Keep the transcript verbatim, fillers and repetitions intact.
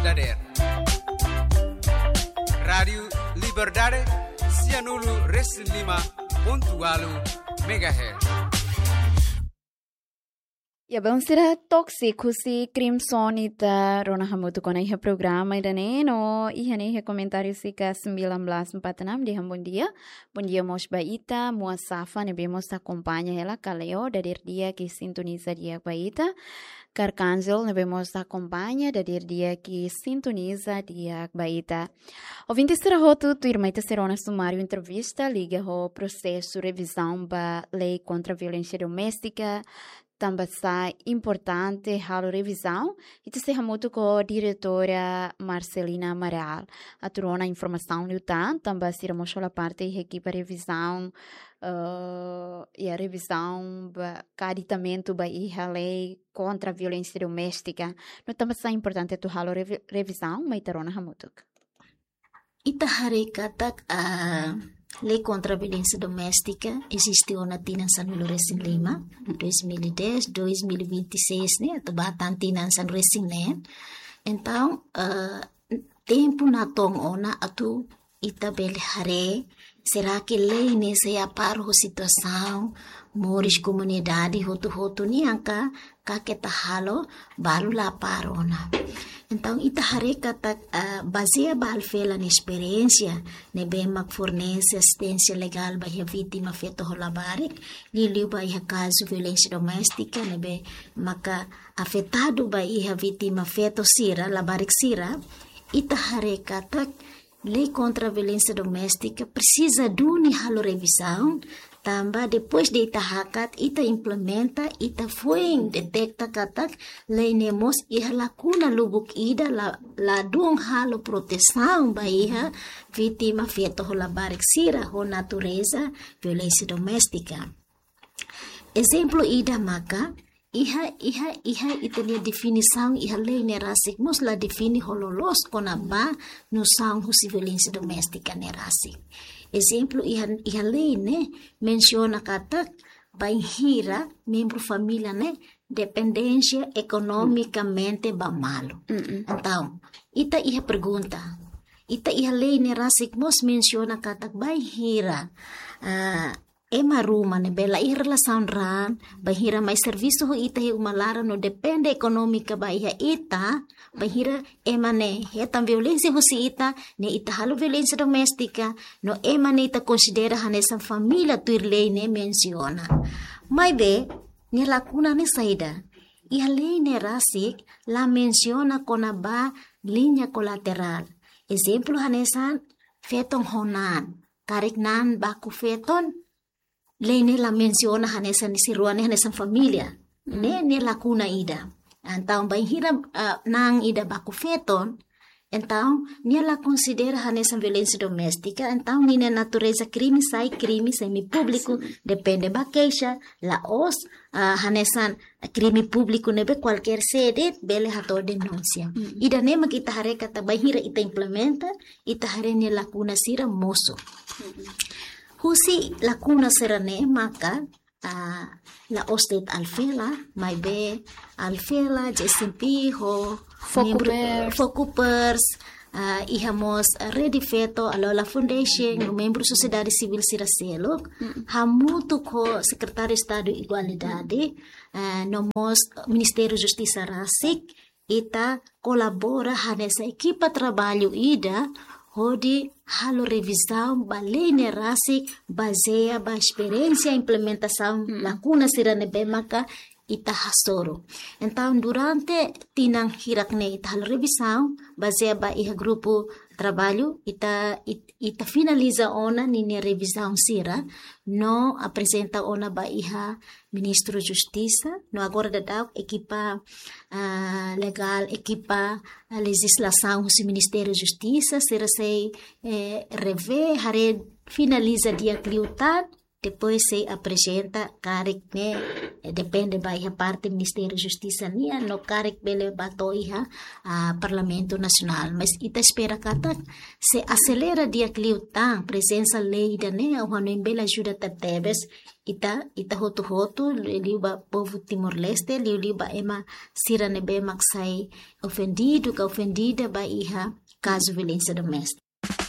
Dader. Rádiu Liberdade, sianulu resin lima pontu ualu megahertz. Ya, belun sira, toksik husi Crimson ita rona hamutuk ona iha programa ida-ne'e no iha ne'e iha komentáriu sika sembilan belas empat enam dehan bondia. Bondia mós ba ita, Mua Safa ne'ebé mós akompaña hela, Kaleo, dader di'ak i sintoniza di'ak ba ita. Carcangel ne'ebé mós akompaña, dader di'ak i sintoniza di'ak ba ita. Ouvinte sira hotu, tuirmai ita sei rona sumáriu entrevista liga ho prosesu revizaun ba lei kontra violénsia doméstika, tanba sá importante halo revizaun, ita sei hamutuk ho diretora Marcelina Amaral atu rona informasaun liután, tanba sira mós hola parte iha ekipa revizaun, eh, iha revizaun ba, ka aditamentu ba iha lei kontra violénsia doméstika. No tanba sá importante atu halo revi-, revizaun, mai ita rona hamutuk. Ita haree katak, ah, lei kontra violénsia doméstika eziste ona tinan sanulu resin lima, dois mil e dez, dois mil e vinte e seis ne'e, atu ba tan tinan sanulu resin neen. Entaun, ah, tempu natoon ona atu ita bele haree, será que lei ne'e sei apár ho situasaun moris komunidade hotu-hotu nian ka, ka keta halo balu la apár ona. Entaun, ita haree katak, ah, bazeia ba Alfela nia esperiénsia, ne'ebé mak fornese asisténsia legál ba iha vítima feto ho labarik, liuliu ba iha kazu violénsia doméstika, ne'ebé maka afetadu ba iha vítima feto sira, labarik sira, ita haree katak lei kontra violénsia doméstika presiza duni halo revizaun, tanba depois de ita hakat, ita implementa, ita foin deteta katak lei ne'e mós iha lakuna lubuk ida, la, ladún halo protesaun ba iha vítima feto ho labarik sira ho natureza violénsia doméstika. Ezemplu ida maka, iha, iha, iha ita-nia definisaun iha lei ne'e rasik mós la define ho loloos kona-ba nosaun husi violénsia doméstika ne'e rasik. Ezemplu iha, iha lei ne'e mensiona katak bainhira membru família ne'e dependénsia ekonomikamente ba malu. Mm-mm. Entaun, ita iha pergunta. Ita iha lei ne'e rasik mós mensiona katak bainhira, ah, ema ruma ne'ebé la iha relasaun raan, bainhira mai servisu ho ita iha uma laran no depende ekonómika ba iha ita, bainhira ema ne'e hetan violénsia husi ita, ne'e ita halo violénsia doméstika, no ema ne'e ita konsidera hanesan família tuir lei ne'e mensiona. Maibé, nia lakuna ne'e saida? Iha lei ne'e rasik la mensiona kona-ba liña kolaterál. Ezemplu hanesan feton ho naan, karik naan baku feton, lei ne'e la mensiona hanesan isi rua ne'e hanesan família. Mm. Ne'e, ne'e lakuna ida. Entaun, bainhira, ah, naan ida baku feton, entaun, nia la konsidera hanesan violénsia doméstika, entaun, ninia natureza krime sai krime semipúbliku, depende ba keixa, la'ós, ah, hanesan krime públiku ne'ebé kualkér sé de'it bele hato'o denúnsia. Mm. Ida-ne'e mak ita haree katak bainhira ita implementa, ita haree nia lakuna sira mosu. Mm. Husi lakuna sira-ne'e maka, ah, la'ós de'it Alfela, maibé Alfela, J C M P ho membru, Fokupers. Fokupers, ah, iha mós, ah, Rede Feto, Alola Foundation, no membru sosiedade sivíl sira seluk, mm, hamutuk ho Sekretáriu Estadu Igualdade, ah, no mós Ministériu Justisa rasik, ita kolabora hanesan ekipa traballu ida, hodi halo revizaun ba lei ne'e rasik, bazeia ba esperiénsia implementasaun, mm, lakuna sira ne'ebé maka ita hasoru. Entaun, durante tinan hirak ne'e ita halo revizaun, bazeia ba iha grupu traballu, ita, it-, ita finaliza ona ninia revizaun sira, no aprezenta ona ba iha Ministru Justisa, no agora daudaun ekipa, ah, legál, ekipa, ah, lejizlasaun husi Ministériu Justisa, sira sei, eh, revee, haree finaliza di'ak liután, depois sei aprezenta karik ne'e, eh, depende ba iha parte Ministériu Justisa nian, no karik bele ba to'o iha, ah, Parlamentu Nasionál. Mas ita espera katak sei aselera di'ak liután prezensa lei ida-ne'e, ha'u hanoin bele ajuda tebetebes ita, ita hotu-hotu, liuliu ba povu Timor-Leste, liuliu ba ema sira ne'ebé mak sai ofendidu ka ofendida ba iha kazu violénsia doméstika.